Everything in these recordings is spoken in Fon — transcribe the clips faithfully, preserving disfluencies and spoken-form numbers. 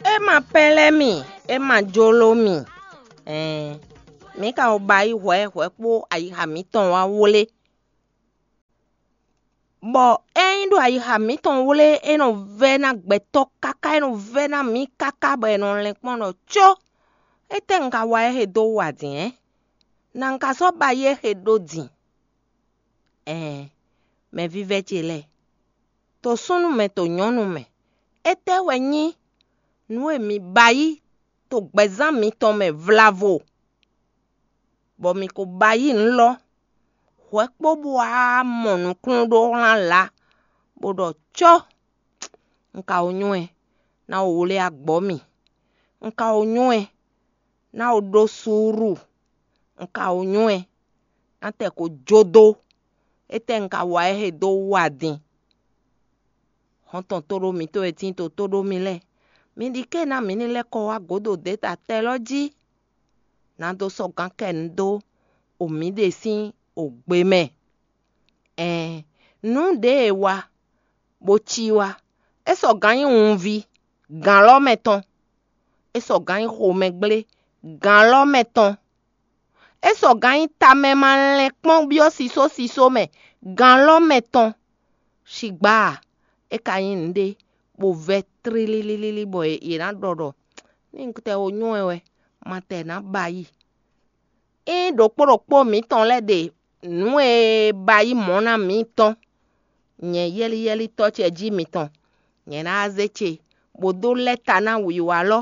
É ma pɛ́lɛ́ mì, é ma jló mì. Ɛɛn, mǐ ka ko ba yí hwɛ̌ hwɛ̌ kpó ayixa mǐtɔn wá wlé. Bɔ ényí ɖo ayixa mǐtɔn wlé, é nɔ vɛ́ ná gbɛtɔ́ káká, é nɔ vɛ́ ná mǐ káká bɔ è nɔ lɛn kpɔ́n ɖɔ có, étɛ́ un ka wa é he dó wa dǐn ɛ? Nǎ un ka sɔ́ ba yí é he ɖó din? Ɛɛn, mɛvívɛ́ ce lɛ́ɛ, to súnnu mɛ, to nyɔ̌nu mɛ, étɛ́ wɛ nyí nǔ e mi ba yí to gbɛzán mitɔn mɛ vlavo, bɔ mi ko ba yí nǔ lɔ hwɛ̌ kpó bó wá mɔ nǔkúnnú ɖó hlán lǎ, bó ɖɔ có, un ka ko nywɛ́, ná ko wlé agbɔ̌ mì, un ka ko nywɛ́, ná ko ɖó suúlu, un ka ko nywɛ́, ná tɛ ko jó dó, étɛ́ un ka wa é he dó wa din? Hɔn tɔn tóɖó mǐtɔn e tíin to tóɖó mì lɛ́ɛ, mi ɖi ké ná mǐ ní lɛ́ kɔ wá gǒdo dě ta tɛ lɔ́ jí, ná dó sɔ́ gǎn kɛ nǔ dó o mǐɖée sín o gbe mɛ. Ɛɛn, nǔ ɖě e wa, bó cí wá, é sɔgǎn nyí wunví, gǎn lɔ́ mɛ tɔn; é sɔgǎn nyí xomɛgblé, gǎn lɔ́ mɛ tɔn; é sɔgǎn nyí tamɛ ma lɛn kpɔ́n byɔ́ sisósisó mɛ, gǎn lɔ́ mɛ tɔn. Shigbá a, é ka nyí nǔɖé bó vɛ́ tlílílílí bɔ yě ná ɖɔ ɖɔ ní un tɛ wo nywɛ́ wɛ, ma tɛ nǎ ba yi. Ényí ɖokpó ɖokpó mǐtɔn lɛ́ɛ ɖe nǔ e ba yí mɔ̌ ná mǐ tɔn, nyɛ yɛ́líyɛ́lítɔ́ ce jí mitɔn, nyɛ ná zé ce, bó dó lɛ́ ta ná wǐwá lɔ́,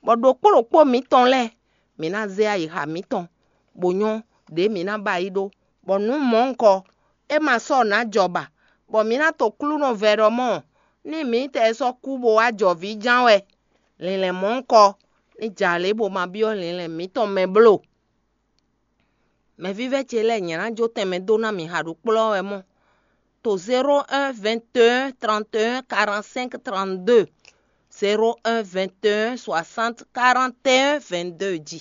bɔ ɖokpó ɖokpó mǐtɔn lɛ́ɛ, mǐ ná zé ayixa mǐtɔn, bó nyɔ́ ɖě mǐ ná ba yí ɖó, bɔ nǔ mɔ̌hunkɔ é ma sɔ́ nǎ jɔ ba, bɔ mǐ ná to klúnɔ vɛ ɖɔ mɔ́, ní mǐtɛɛ sɔ́ kú bó wá jɔ vǐ ján wɛ, linlɛn mɔ̌hunkɔ ní jɛ alě bó ma byɔ́ linlɛn mǐtɔn mɛ bló. Mɛvívɛ́ ce lɛ́ɛ, nyɛ ná jó tɛnmɛ dó ná mi ha ɖo kplɔ́ wɛ mɔ́. To zéro un vingt et un trente et un quarante-cinq trente-deux, zéro un vingt et un soixante quarante et un vingt-deux jí.